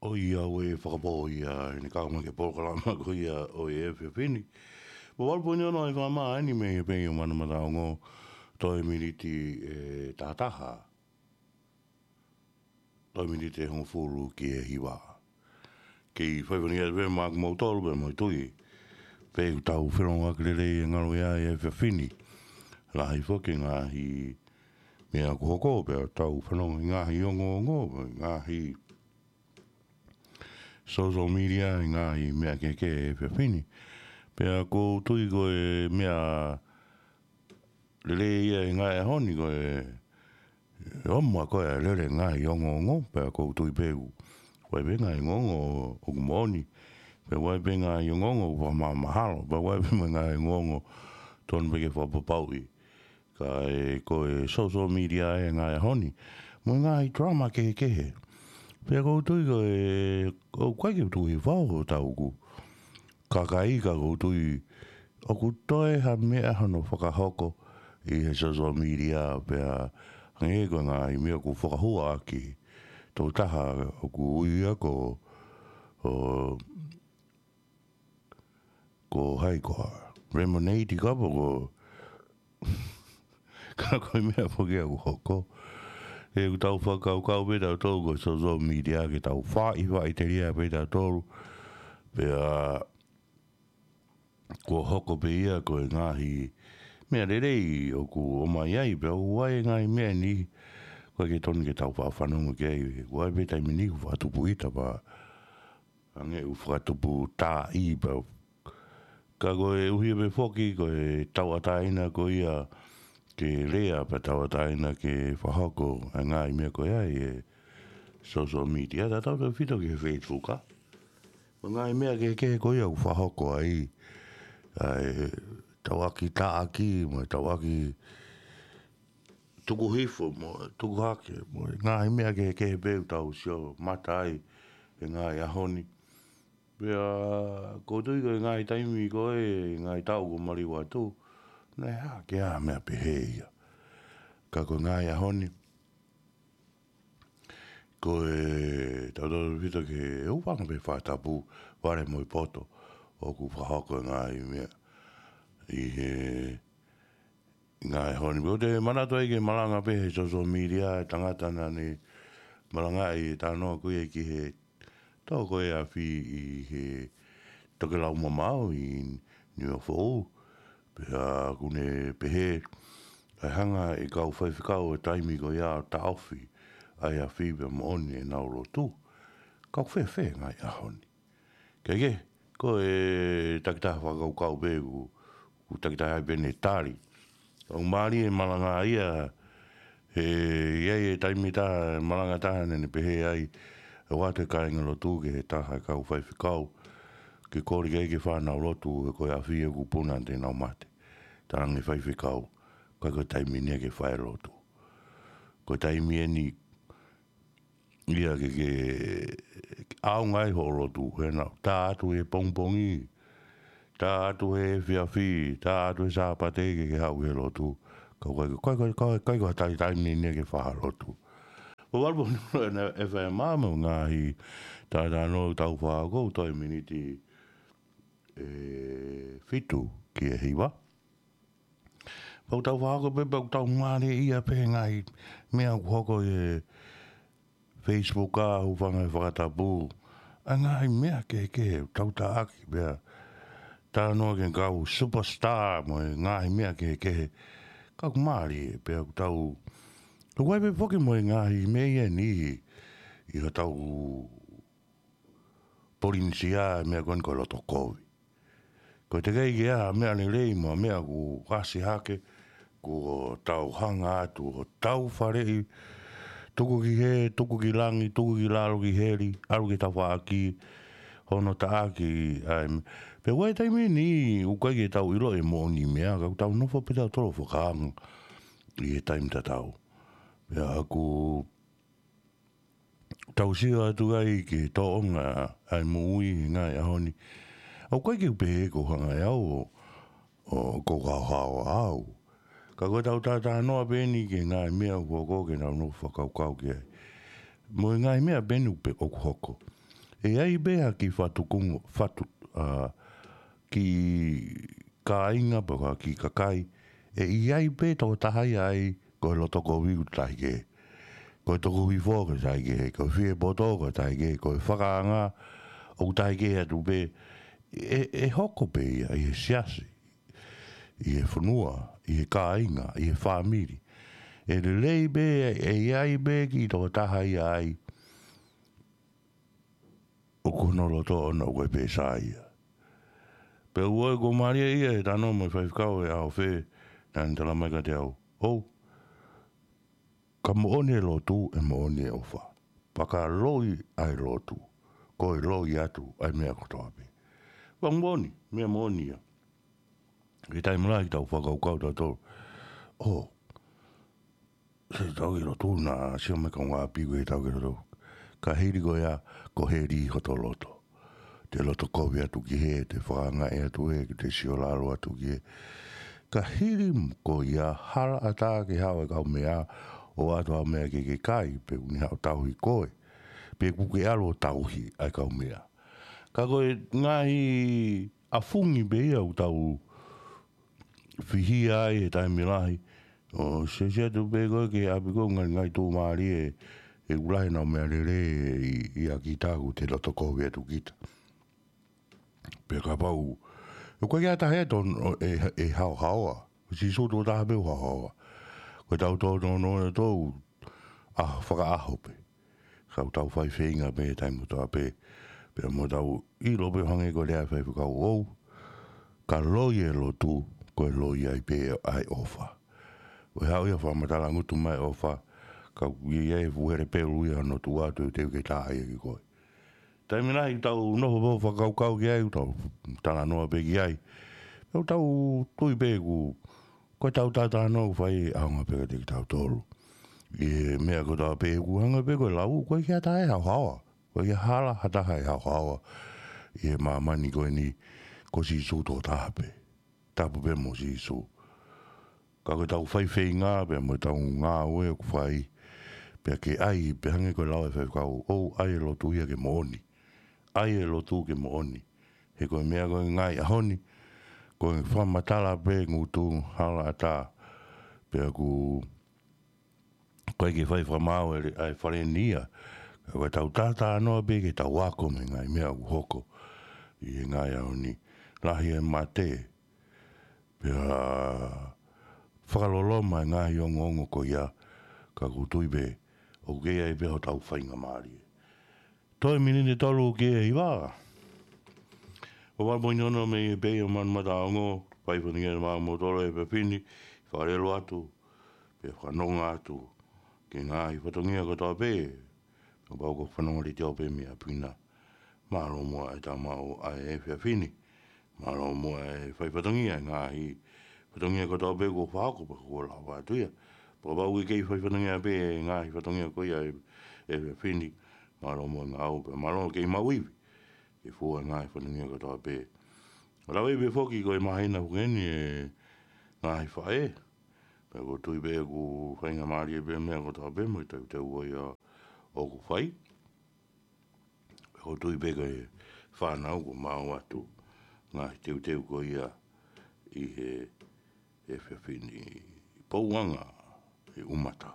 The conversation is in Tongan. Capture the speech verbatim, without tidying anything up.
ʻOiauē fakapō ia, ʻi he kau mai ki he polokalama ko ia ʻo e efiafi ni. Pea valu poini ono ʻa e fakamā eni mei he pei ʻo Manu Mataongo, toe miniti ʻe taha taha. Toe miniti ʻe hongofulu ki he hiva. Kei faifaʻahinga atu pē maʻa kimoutolu pea mo e tui. Pea ʻoku tau felongoaki lelei e ngalo ia e efiafi ni. Lahi foki e ngaahi meʻa ʻoku hoko pea tau fanongo he ngaahi ongoongo, ngaahi social media, ngaahi meʻa kehekehe he efiafi ni. Pea ʻoku ou tui ko e meʻa lelei ia he ngaahi ʻaho ni ko e, ʻe ʻomai ko e lele ngaahi ongoongo, pea ʻoku ou tui pē ʻoku ʻi ai pē ngaahi ongoongo ʻoku moʻoni, pea ʻoku ʻi ai pē ngaahi ongoongo ʻoku fakamahalo, pea ʻoku ʻi ai pē mo e ngaahi ongoongo tonu pē ke fakapapauʻi. Ka ʻe ko e social media ʻa e ngaahi ʻaho ni, mo e ngaahi drama kehekehe. Pea ʻoku ou tui ko e, ʻoku ʻikai ke u tuʻu hifo ʻo tau ʻoku kakai ka ʻoku ou tui ʻoku toe ha meʻa hono fakahoko ʻi he social media pea hangē ko e ngaahi meʻa ʻoku fakahua ʻaki. Tokotaha ʻoku ui ia ko, ʻo, ko hai koā, Lemonade Cup ko, ka ko e meʻa foki ʻoku hoko. ʻOku tau fakakaukau pē tautolu ko e social media ke tau faʻifaʻiteliha pē tautolu. Pea kuo hoko pē ia ko e ngaahi meʻa lelei ʻoku ʻomai ai, pea ʻoku ʻi ai e ngaahi meʻa ni, ʻoku ʻikai ke tonu ke tau faʻa fanongo ki ai, ʻoku ʻi ai pē taimi ni ʻoku fakatupu ʻita pea hangē ʻoku fakatupu taaʻi pea. Ka koeʻuhi pē foki ko e tauʻatāina ko ia ke lea pea tauʻatāina ke fakahoko e ngaahi meʻa ko ia ʻi he social media, tautautefito ki he Facebook, ʻa. Mo e ngaahi meʻa kehekehe ko ia ʻoku fakahoko ai, ʻa e tauʻaki taʻaki, mo e tauʻaki tuku hifo, mo e tuku hake, mo e ngaahi meʻa kehekehe pē ʻoku tau sio mata ai he ngaahi ʻaho ni. Pea ʻoku ou tui ko e ngaahi taimi ko e ngaahi taʻu kuo maliu atu, naʻe hake ʻa e meʻa pehē ia. Ka ko e ngaahi ʻaho ni, ko e tautautefito ki he ʻū fanga pē fakatapu, vale mo e poto, ʻoku fakahoko e ngaahi meʻa ʻi he ngaahi ʻaho ni. Pea ʻoku ou manatu ai ke malanga pē he social media e tangata naʻa ne malangaʻi e talanoa ko ia ki he toko e afi ʻi he tokelau mamaʻo ʻi Niuafoʻou. Pea ʻoku ne pehē, ʻe hanga ʻe he kau faifekau he taimi ko ia ʻo taʻofi ʻa e afi pea moʻoni ʻenau lotu. Ka ʻoku fēfē e ngaahi ʻaho ni? Kehekehe, ko e takitaha fakakaukau pē ʻoku, ʻoku takitaha ai pē ʻene tali. ʻOku mālie e malanga ia, he ʻi ai e taimi taha, malanga taha naʻa ne pehē ai, ʻoatu e kāingalotu ki he taha e kau faifekau, ke kole ki ai ke fānau lotu, he ko e afi ʻoku puna ʻanenai ʻo mate. Talaange ʻe he faifekau, ʻikai ko e taimi ni ia ke fai lotu. Ko e taimi eni ia ke, ke ʻaonga ai hoʻo lotu, he naʻa, tā atu he pongipongi, tā atu he efiafi, tā atu he Sāpate ke ke haʻu he lotu. Ka ʻoku ʻikai, ʻikai, ʻikai, ʻikai ko ha taimi, taimi ni ia ke fai ha lotu. Pea valu poini ono ʻa e F M mo e ngaahi talanoa ʻoku tau fakahoko, toe miniti ʻe fitu ki he hiva. Pea ʻoku tau fakahoko pē, pea ʻoku tau mālieʻia pē he ngaahi meʻa ʻoku hoko ʻi he Facebook, ʻa e hūfanga he fakatapu, ʻa e ngaahi meʻa kehekehe ʻoku tau taʻaki pea talanoa ki he kau superstar mo e ngaahi meʻa kehekehe. Ka ʻoku mālie pē ʻoku tau, ʻoku ʻi ai pē foki mo e ngaahi meʻa ia ʻi, ʻi hotau Polinisia, meʻa ko eni ko e loto kovi. Ko e teʻeki ke ʻi ai ha meʻa lelei mo e meʻa ʻoku ʻasi hake, kuo tau hanga atu ʻo tau faleʻi, tuku ki hē, tuku ki langi, tuku ki lalo ki heli, ʻalu ki tafaʻaki, hono taʻaki, ʻa e, pea ʻoku ʻi ai e taimi ni, ʻoku ʻikai ke tau ʻilo e moʻoni e meʻa, ka ʻoku tau nofo pē tautolu ʻo fakaanga ʻi he taimi tatau. Pea ʻoku tau sio atu ai ki he tōʻonga ʻa e moʻui he ngaahi ʻaho ni. ʻOku ʻikai ke u pehē ʻoku ou hanga ʻe au ʻo, ʻoku ou haohaoa au. Ka ko ʻetau talanoa pē eni ki he ngaahi meʻa ʻoku hoko ke nau nofo fakakaukau ki ai. Mo e ngaahi meʻa pē eni ʻoku pe-, ʻoku hoko. ʻE ʻi ai pē ha kiʻi fatu kunga, fatu, ʻa, kiʻi kāinga pe ko ha kiʻi kakai, ʻe ʻi ai pē toko taha ia ai ko e loto kovi ʻoku tahi kehe. Ko e tuku hifo ʻoku tahi kehe, ko e fie poto ʻoku tahi kehe, ko e fakaanga ʻoku tahi kehe atu pē. ʻE, ʻe hoko pē ia ʻi he siasi, ʻi he fonua, ʻi he kāinga, ʻi he fāmili. ʻE lelei pē, ʻe ʻi ai pē kiʻi toko taha ia ai ʻoku hono loto ʻoʻona ʻoku ʻikai pē sai ia. Pea u ʻai ko Malia ia he talanoa mo e faifekau he ʻaho fē, naʻa ne talamai kiate au, ʻOu, ka moʻoni e lotu, ʻe moʻoni e ʻofa. Pea ka loi ʻa e lotu, ko e loi atu ʻa e meʻa kotoa pē. Pea moʻoni, meʻa moʻoni ia. He taimi lahi ʻoku tau fakakaukau tautolu, ʻo, se tau ki lotu naʻa sio mai kaungāʻapi ko e tau ki lotu. Ka hili ko ia, ko heli hoto loto. Te loto kovi atu ki hē, te fakaangaʻi atu hē, te sio lalo atu ki hē. Ka hili ko ia, hala ʻatā ke haʻu e kaumeʻa, ʻoatu ha meʻa ke ke kai, pe ʻoku ne haʻu ʻo tauhi koe. Pe ʻoku ke ʻalu ʻo tauhi ʻa e kaumeʻa. Ka ko e ngaahi ʻafungi pē ia ʻoku tau fihia ai he taimi lahi. ʻO sio atu pē koe ki he ʻapi ko e ngaahi, ngaahi tuʻumālie, ʻoku lahi ʻenau meʻalele ʻi, ʻia kita ʻoku te loto kovi atu kita. Pea kapau, ʻoku ʻikai ke ʻi ai ha taha ia ʻe, ʻe haohaoa. Ko Sīsū toko taha pē ʻoku haohaoa. Ko e tau tō tō nō e tō, ʻa fakaʻaho pē. Ka ʻoku tau fai feinga pē he taimi kotoa pē. Pea mo tau ʻilo pē ʻo hangē ko e lea ʻa e faifekau, ʻOu, ka loi e lotu, ko e loi ai pē ʻa e ʻofa. Ko e haʻu ia ʻo fakamatala ngutu mai ʻofa, ka ʻoku ʻi ai e fuʻu hele pelu ia hono tuʻu atu ʻo teuteu ke tā ia ki koe. Taimi lahi ʻoku tau nofo pē ʻo fakakaukau ki ai, ʻoku tau talanoa pē ki ai. Pea ʻoku tau tui pē ʻoku, ko e tau talanoa ʻoku fai ʻaonga pē kiate kitautolu. ʻI he meʻa kotoa pē ʻoku hangē pē ko e lau, ʻoku ʻikai ke ʻi ai ha taha ʻe haohaoa. ʻOku ʻikai ke hala ha taha ʻe haohaoa. ʻI he māmani ko eni ko Sīsū toko taha pē. Tapu pē mo Sīsū. Ka ko e tau fai feinga pea mo e tau ngāue ʻoku fai. Pea ke ʻai, pea hangē ko e lau ʻa e faifekau, ʻOu, ʻai e lotu ia ke moʻoni. ʻAi e lotu ke moʻoni. He ko e meʻa ko e ngaahi ʻaho ni, ko e fakamatala pē ngutu hala ʻatā. Pea ʻoku ʻikai ke fai fakamaau ʻe, ʻa e fale ni ia. Ka ko e tau talanoa pē ke tau ako mei he ngaahi meʻa ʻoku hoko ʻi he ngaahi ʻaho ni. Lahi e mate. Pea fakaloloma e ngaahi ongoongo ko ia, ka ʻoku ou tui pē, ʻoku kei ʻi ai pē hotau faingamālie. Toe miniti tolu ki he hiva. ʻOku ou fakamoʻoni ʻoku mei he pei ʻo Manu Mataongo, fai fatongia mo kimoutolu he efiafi ni, fakalele atu, pea fakanonga atu, ki he ngaahi fatongia kotoa pē, ʻo pau ko e fanongo letiō pē mei ʻapi na. Mālō muʻa e tau maʻu ʻa e efiafi ni. Mālō muʻa e fai fatongia, ngaahi fatongia kotoa pē kuo fakahoko pea kuo lava atu ia. Pea kapau ʻoku kei fai fatongia pē, ngaahi fatongia ko ia e, e efiafi ni. Mālō muʻa ngāue pea mālō kei maʻu ivi. Ke fua e ngaahi fatongia kotoa pē. ʻO lava ivi foki ko e māhina foki eni e ngaahi faʻē. Pea ʻoku ou tui pē ʻoku faingamālie pē meʻa kotoa pē mo e teuteu ko ia ʻoku fai. Pea ʻoku ou tui pē ko e fānau kuo maʻu atu ngaahi teuteu ko ia ʻi he, he efiafi ni, pouʻanga ʻi ʻUmata.